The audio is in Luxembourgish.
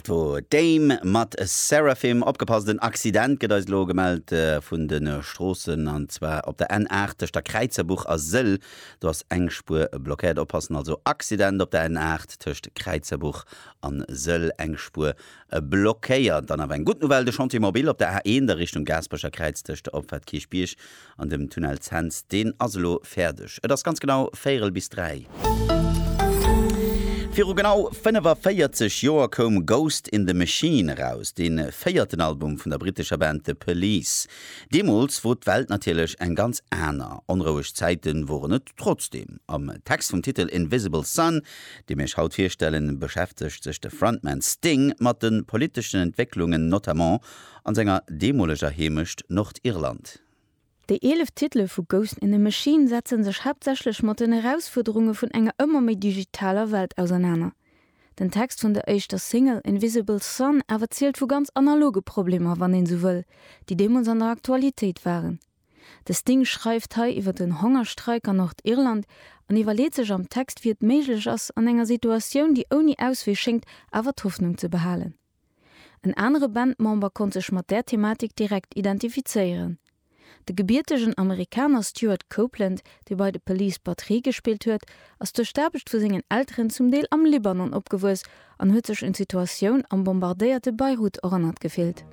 Dat wor Dame mat Seraphim. Opgepasst, en Accident gëtt eis elo gemellt vun de Stroossen, an zwar op der N8 tëscht der Kräizerbuch a Sëll. Do ass eng Spuer blockéiert. Oppassen also, Accident op der N8 tëscht Kräizerbuch an Sëll, eng Spuer blockéiert. Dann awer eng gutt Nouvelle, de Chantier mobile op der A1 a Richtung Gaasperecher Kräiz tëscht der Opfaart Kierchbierg An dem Tunnel Cents, deen ass elo fäerdeg. Et ass ganz genau véierel bis 3. Viru genau 45 Joer koum Ghost in the Machine eraus, dee véierten Album vun der brittescher Band The Police. Deemools wor d'Welt natierlech eng ganz aner. Onroueg Zäite woren et trotzdeem. Am Text vum Titel Invisible Sun, dee mir iech haut virstellen, beschäftegt sech de Frontman Sting mat de politeschen Entwécklungen, notamment an senger deemoleger Heemecht Nordirland. Déi 11 Titele vu Ghost in the Machine setze sech haaptsächlech mat den Erausfuerderunge vun enger ëmmer méi digitaler Welt ausernaner. Den Text vun der éischter Single Invisible Sun awer zielt vu ganz analoge Problemer, wann een sou wëll, déi deemools an der Aktualitéit waren. De Sting schreift hei iwwer den Hongerstreik an Nordirland an iwwerleet sech am Text, wéi et méiglech ass, an enger Situatioun, déi ouni Auswee schéngt, awer d'Hoffnung ze behalen. En anere Bandmember konnt sech mat där Thematik direkt identifizéieren. De gebiertegen Amerikaner Stewart Copeland, dee bei The Police Batterie gespillt huet, ass duerch d'Aarbecht vu sengen Elteren zum Deel am Libanon opgewuess an huet sech un d'Situatioun am bombardéierte Beirut erënnert gefillt.